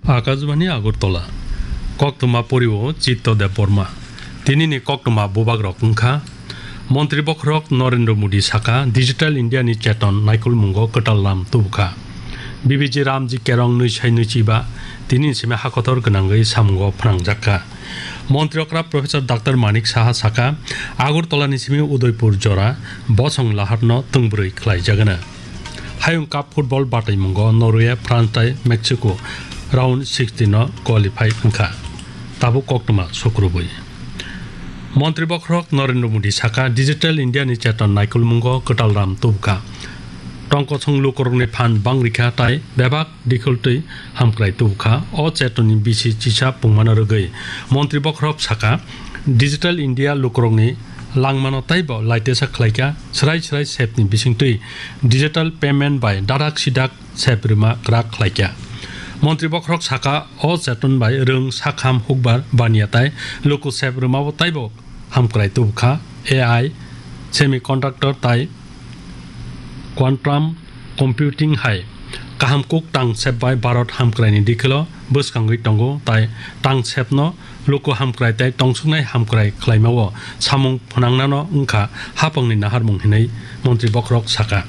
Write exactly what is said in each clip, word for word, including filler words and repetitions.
Akashbani Agartala. Koktwma porio Chitto Debbarma. Tinini koktwma bubagrok wngkha: Montri bokhorok Narendra Modi saka Digital India ni cheton naikolmungo kwtal lam tubukha. B B G Ramji Kerong nwi sai nwi chiba tinini simi hakotor gwnangwi samungo phnangjakha. Montri okra Professor Doctor Manik Saha saka, Agartala ni simi Udaipur jora bosong laharno tungbrwi khlaijagana. Hayung Cup football bataimungo Norway, France tai Mexico round sixteen no qualify wngkha. Tabuk koktwma sukrubwi. Montri bokhorok Narendra Modi saka, Digital India ni cheton naikolmungo kwtal ram tubukha. Tongkosong lukurokni phan bangrikha tai bebak dikhiltwi hamkrai tubukha. O chetoni bisi chisa pungmano rwgwi Montri bokhorok saka, Digital India lukurokni langmano taibo laitesa khlaikha, srai srai sepni bisingtwi digital payment bai dadak sidak sep rwma kwrak khlaikha. Montri bokhorok saka, o cheton bai rwng sakham hukbar baniya tai luku sep rwmabo taibo hamkrai tubukha. A I, semiconductor tai quantum computing hai kaham kuk tang sep bai Bharat hamkraini dikhilo bwskangwi tongo, tai tang sepno luku hamkrai tai tongsuknai hamkrai khlaimao samung phnangnano wngkha hapangni naharmung hinwi Montri bokhorok saka.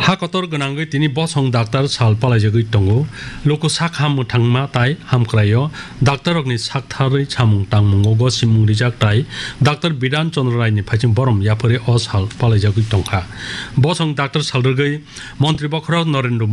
Ha kotor gwnangwi tini bosong daktar sal palaijagwi tongo. Luku sak ham mwthangma tai hamkraio daktarrokni saktharwi samung tangmungo gosimung rijak tai Doctor Bidhan Chandra Raini phaiching borom yapharwi o sal palaijagwi tongkha. Bosong daktar sal rwgwi Montri bokhorok Narendra Modi